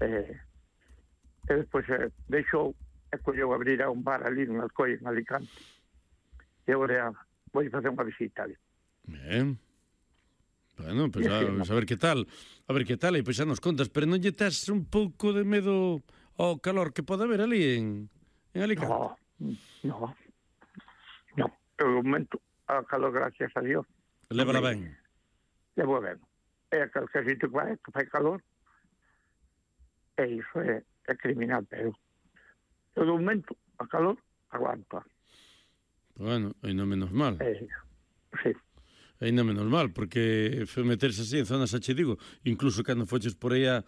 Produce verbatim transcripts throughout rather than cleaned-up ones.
E, e despois eh, deixou e colleu abrir a un bar ali en Alcoy, en Alicante. E agora vou facer unha visita ali. Ben. Bueno, pues a, a ver que tal. A ver que tal, e pois xa nos contas, pero non lle tes un pouco de medo ao calor que pode haber ali en, en Alicante? No, no. No, pelo momento, a calor, gracias a Dios. Lévala ben. Levo ben. É aquel que sitio que vai, que fai calor, e iso é, é criminal, pero todo momento, a calor, aguanta. Bueno, ainda menos mal. É, sí. Ainda menos mal, porque foi meterse así en zonas, xa che digo, incluso cando foches por aí a,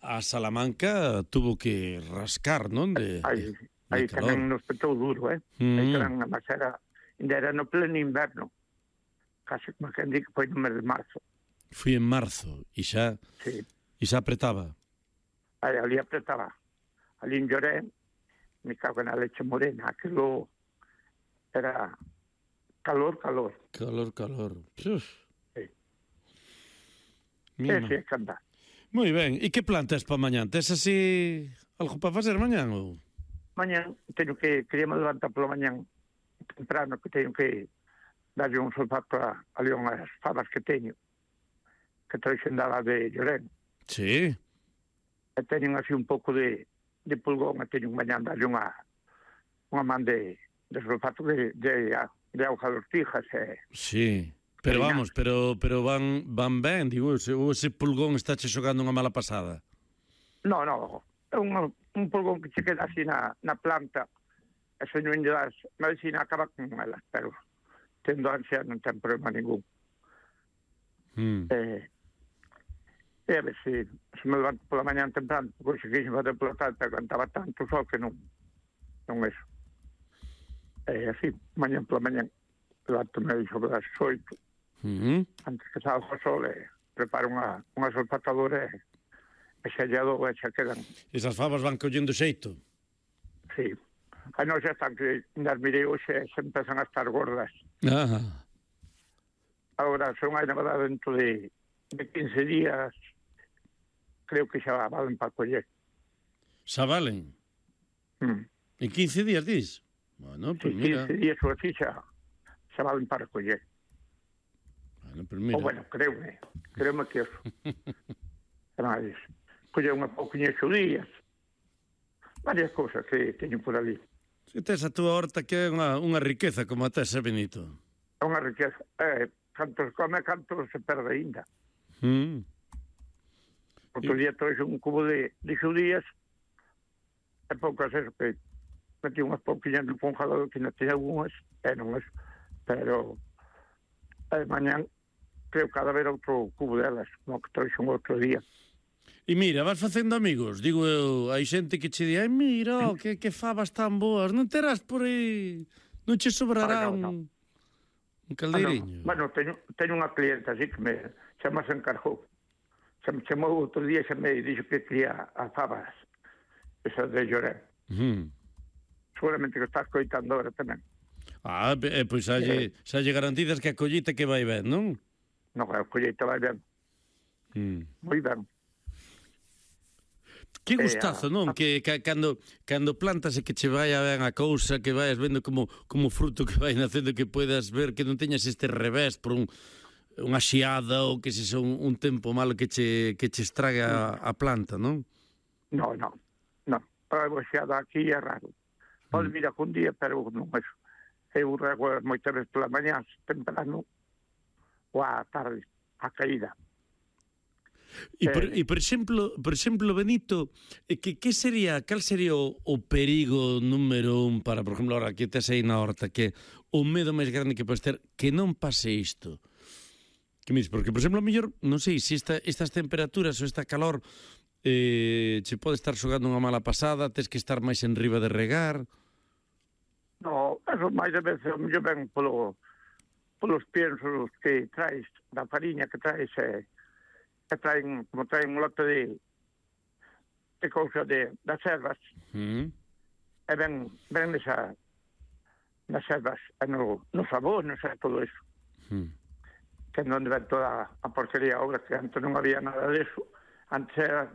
a Salamanca, tuvo que rascar, non? De, aí de, aí de calor. tamén nos petou duro, eh? Mm. Aí tamén a masera, ainda era no pleno inverno, casi como que di que foi no mes de marzo. Fui en marzo, e xa, Sí. e xa apretaba. Aí, ali apretaba. Ali en Lloré, me cago na leche morena, aquilo era calor, calor. Calor, calor. Uf. Sí. Mima. Ese é que andar. Moi ben, e que plantas para mañán? Tes así algo para facer mañán ou? Mañán teño que, queríamos levantar pola mañán temprano, que teño que darlle un solfato a, a unhas fabas que teño, que traixen dada de Llorén. Sí. E teñen así un pouco de, de pulgón, e teño mañán darlle unha, unha man de, de solfato de, de, de auga dos tijas. E, sí. Pero vamos, pero pero van van ben, digo, ese, ou ese pulgón está che xogando unha mala pasada. No, no, é un, un pulgón que che queda así na, na planta, e se non lle das medicina acaba con elas, pero tendo ansia non ten problema ningún. Mm. Eh, e a ver se, se me levanto pola mañán temprano, porque se quixen fazer pola tarde, pero cantaba tanto sol que non, non eso. E así, mañán pola mañán, levanto-me sobre as oito, Mm-hmm. antes que salga o sol, e preparo unha, unha solfatadora e, e xa lle dou e xa quedan. Esas fabas van collendo xeito. Sí. Aí non xa están que nas mirei hoxe se empezan a estar gordas. Ah. Agora son aí na verdade dentro de, de quince días, creo que xa valen para coller. Xa valen? Mm. En quince días, dis? Bueno, pues Sí, mira. quince días ou así xa, xa valen para coller. Bueno, pues mira. O bueno, creume, creume que eso. Además, coller unha pouquiña xo días. Varias cousas que teño por ali. Se tes a túa horta que é unha, unha riqueza como a tes, eh, Benito. É unha riqueza. Eh, canto se come, canto se perde ainda. Mm. Outro día trouxe un cubo de, de xudías e poucas eso que metí unhas pouquiñas no congelador que non teña algunhas, e non es, pero e mañán creo que ha de haber outro cubo delas, no que trouxe un outro día. E mira, vas facendo amigos. Digo eu, hai xente que che di, ai, mira, oh, que, que fabas tan boas. Non terás por aí, non che sobrará Ay, no, no. un, un caldeiriño. Ah, no. Bueno, teño, teño unha clienta así que me, xa me se encargou. Se me chamou outro día e xa me dixo que quería as fabas, esas de Llorén. Mm. Seguramente que estás coitando ahora tamén. Ah, eh, pois xa lle, xa lle garantidas que a collita que vai ben, non? Non, a colleita vai ben. Mm. Moi ben. Que gustazo, non? Que, que cando cando plantas e que che vai ben a cousa, que vais vendo como como fruto que vai nacendo, que puedas ver que non teñas este revés por un unha xiada ou que se son un tempo malo que che que che estraga a, a planta, non? No, no, no. A boxeada aquí é raro. Pode vir algún día, pero non é. Eu rego moitas veces pola mañá, temprano, ou á tarde, a caída. E por, e por exemplo, por exemplo, Benito, que que sería, cal sería o, o perigo número un para, por exemplo, ahora que tes aí na horta, que o medo máis grande que podes ter que non pase isto? Que me dices? Porque, por exemplo, a mellor, non sei, se esta, estas temperaturas ou esta calor eh, che pode estar xogando unha mala pasada, tes que estar máis en riba de regar. No, eso máis de veces o mellor ven polo, polos piensos que traes, da fariña que traes, e, e traen, como traen un lote de de cousa de, das ervas, Mm. e ven, ven nesa, nas ervas, e no, no sabor, non sei, todo eso. Mm. Que non ven toda a porquería ahora, que antes non había nada de eso. Antes era